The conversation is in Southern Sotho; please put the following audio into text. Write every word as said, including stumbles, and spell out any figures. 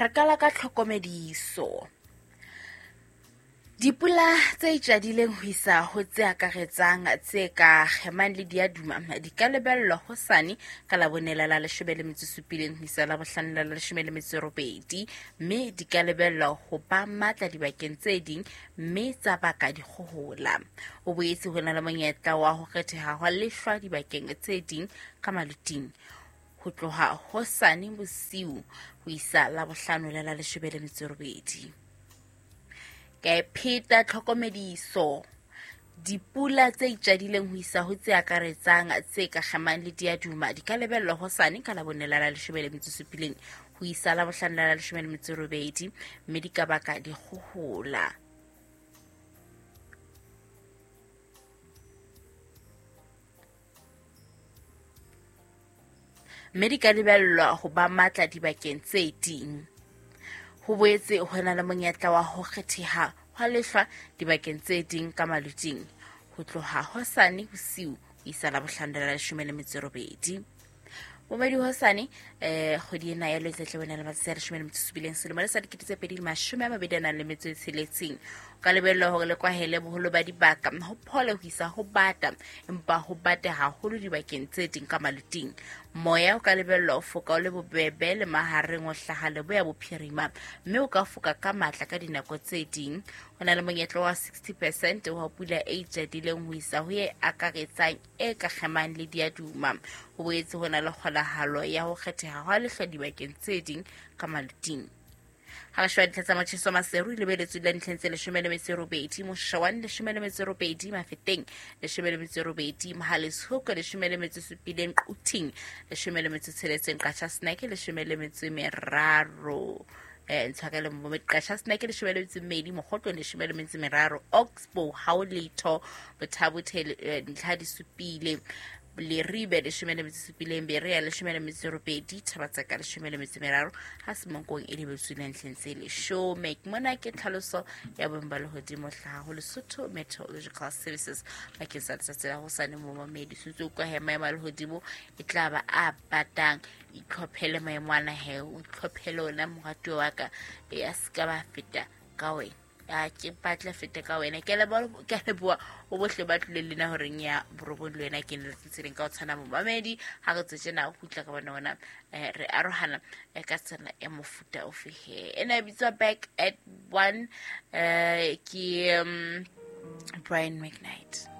Re qala ka tlhokomediso. Dipula tse itjadileng ho isa ho tse akaretsang tse ka kgemang le diaduma di ka lebellwa hosane ka Labone la leshome le metso e supileng ho isa Labohlano la leshome le metso e robedi, mme di ka lebellwa ho ba matla dibakeng tse ding mme tsa baka dikgohola. Ho boetse ho na le monyetla wa ho kgetheha hwa lehlwa dibakeng tse ding ka maluting ho tloha hosane bosiu ho isa Labohlano la leshome le metso e robedi. Ka pheta tlhokomediso. Dipula tse itjadileng ho isa ho tse akaretsang tse ka kgemang le diaduma di ka lebellwa hosane ka Labone la leshome le metso e supileng ho isa Labohlano la leshome le metso e robedi, mme di ka baka dikgohola. Mme di ka lebellwa ho ba matla dibakeng tse ding. Ho boetse ho na le monyetla wa ho kgetheha hwa lehlwa dibakeng tse ding ka maluting ho tloha hosane bosiu ho isa Labohlano la leshome le metso e robedi. Momedi hosane eh kgwedi ena ya Lwetse tle wena le matsatsi a leshome le metso e supileng selemo le sa dikete tse pedi le mashome a mabedi a nang le metso e tsheletseng. O ka lebellwa hore le kwahele boholo ba dibaka ho phole ho isa ho bata, empa ho bata haholo dibakeng tse ding ka maluting. Moya o ka lebellwa ho foka o le bobebe le mahareng ho hlaha leboya bophirima, mme o ka foka ka matla ka dinako tse ding. Ho na le monyetla wa sixty percent wa pula e itjadileng ho isa ho e akaretsang e ka kgemang le diaduma. Ho boetse ho na le kgonahalo ya ho kgetheha hwa lehlwa dibakeng tse ding ka maluting. Ha re sheba dintlha tsa motjheso Maseru lebeletswe la dintlheng tse leshome le metso e robedi, Moshowane leshome le metso e robedi, Mafeteng leshome le metso e robedi, Mohale's Hoek leshome le metso e supileng, Quthing leshome le metso e tsheletseng, Qacha's Nek leshome le metso e meraro. Eh ntshwarele mo Qacha's Nek leshome le metso e mmedi, Mokgotlong leshome le metso e meraro, Oxbow ha ho letho, Botha-Bothe ntlha di supile, Leribe leshome le metso e supileng, Berea leshome le metso e robedi, Thabatsaka leshome le metso e meraro, ha Semonkong e lebetswe ntlheng tse leshome. Mona ke tlhaloso ya boemo ba lehodimo hlaha ho Lesotho Meteorological Services bakeng sa letsatsi la hosane. Momamedi sentse o utlwa he maemo a lehodimo e tla ba a batang. Itlhophele maemo ana he, o itlhophele ona moratuwa wa ka, e a se ka ba feta ka wena. A ke batla fete ka wena. Ke leboha, ke leboha ho bohle ba tlileng le nna horeng ya borobong le wena ke ne le tseleng ka ho tshwana momamedi. Ha re tse tjena ho kgutla ka bona ona re arohana ka tsela ya mofuta ofe he. Ena e bitswa Back at One, eh ke Brian McKnight.